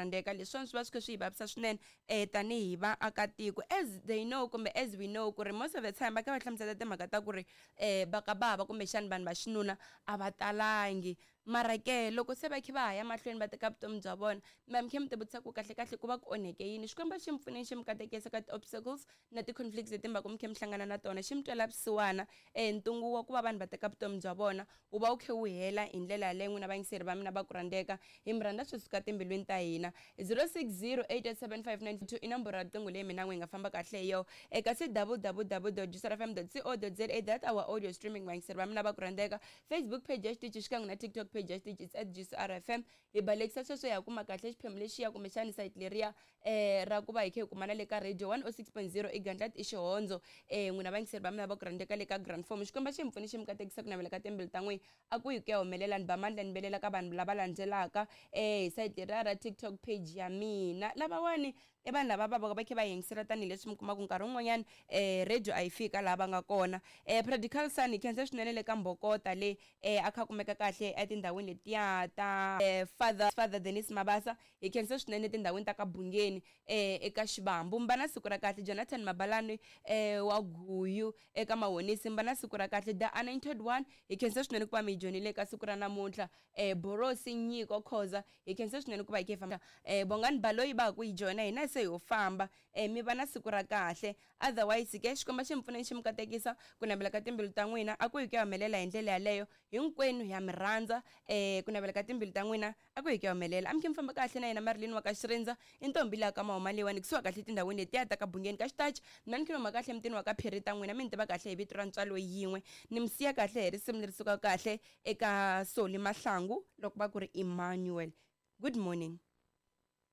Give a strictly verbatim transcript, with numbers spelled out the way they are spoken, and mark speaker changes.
Speaker 1: rhandzeka. Leswiwani swi va swi kha swi hi vavisa swinene um tanihi vaakatiko, as they know kumbe as we know ku ri most of the time va kha va hlamusela timhaka ta ku ri um va ka bava kumbexani vanhu va xinuna a va talangi. Mara ke loko se va kha va ha ya mahlweni va teka vutomi bya vona, mi va mi kha mi ti vutisa ku kahlekahle ku va ku onheke yini. Xikwembu xi mi pfuneni, xi mi katekisa ka ti-obstacles na ti-conflicts leti mi va ku mi kha mi hlangana na tona, xi mi twela vusiwana. um ntungu wa ku va vanhu va teka vutomi bya vona wu va wu kha wu hela hi ndlela yaleyo. N'wina vayingiseri va mina va ku rhandzeka, hi mi rhandza swi suka timbilwini ta hina. zero six zero eight eight seven five nine two i nomboro ya riqingho leyi mina n'wi hi nga famba kahle hi yona eka c double double double dot juicerfm dot co dot za, that our audio streaming. Vayingiseri va mina va ku rhandzeka, Facebook page ya xitichi xikan'we na TikTok page ya xitichi, it's at Juice R F M. Hi balekisa sweswo hi ya kuma kahle xiphemu lexiya kumbexani site leriya um ra ku va hi kha hi kumana le ka radio one oh six point zero i Gandlati i Xihondzo. um n'wina vayingiseri va mina va ku rhandzeka le ka Grand Form, Xikwembu xi mi pfuni, xi mi katekisa ku navela ka timbilu ta n'wina a ku hi ku ya humelela. Ni ba mandla ni belela ka vanhu lava landzelaka um hi site leriya ra TikTok page ya mina. Lavawani i vanhu lava va va va kha va yingisela, tanihileswi mi kumaka nkarhi wun'wanyana um radio a yi fika laha va nga kona. um prodigal son, hi khensa swinene le ka Mbokota le um a kha a kumeka kahle etindhawini letiya ta um father father Denis Mabasa, hi khensa swinene etindhawini ta ka Bungeni um eka Xivambu. Mba na siku ra kahle. Jonathan Mabalani um wa Guyu eka Mahonisi, mba na siku ra kahle. The Anointed One, hi khensa swinene ku va mi hi joinile eka siku ra namuntlha. um Borosi Nyiko Khoza, hi khensa swinene ku va hi kha hi famba. um Bongani Baloyi va ha ku hi joina hina se ho famba. um mi va na siku ra kahle. Otherwise ke, Xikwembu xi mi pfuneni, xi mi katekisa ku navela ka timbilu ta n'wina a ku hi ku ya humelela hi ndlela yaleyo. Hinkwenu ha mi rhandza. um ku navela ka timbilu ta n'wina a ku hi ku ya humelela. A mi khe mi famba kahle na yena Marilyn wa ka Xirindza, i ntombi leya ka mahuma leyiwani kusuka kahle etindhawini letiya ta ka Bungeni ka Xitachi. Mina ni khuluma kahle emutini wa ka Phiri ta n'wina, mi ni tiva kahle hi vito ra Ntswalo Yin'we. Ni mi siya kahle hi risimu leri sukaka kahle eka Soli Mahlangu loko va ku ri Emmanuel. Good morning.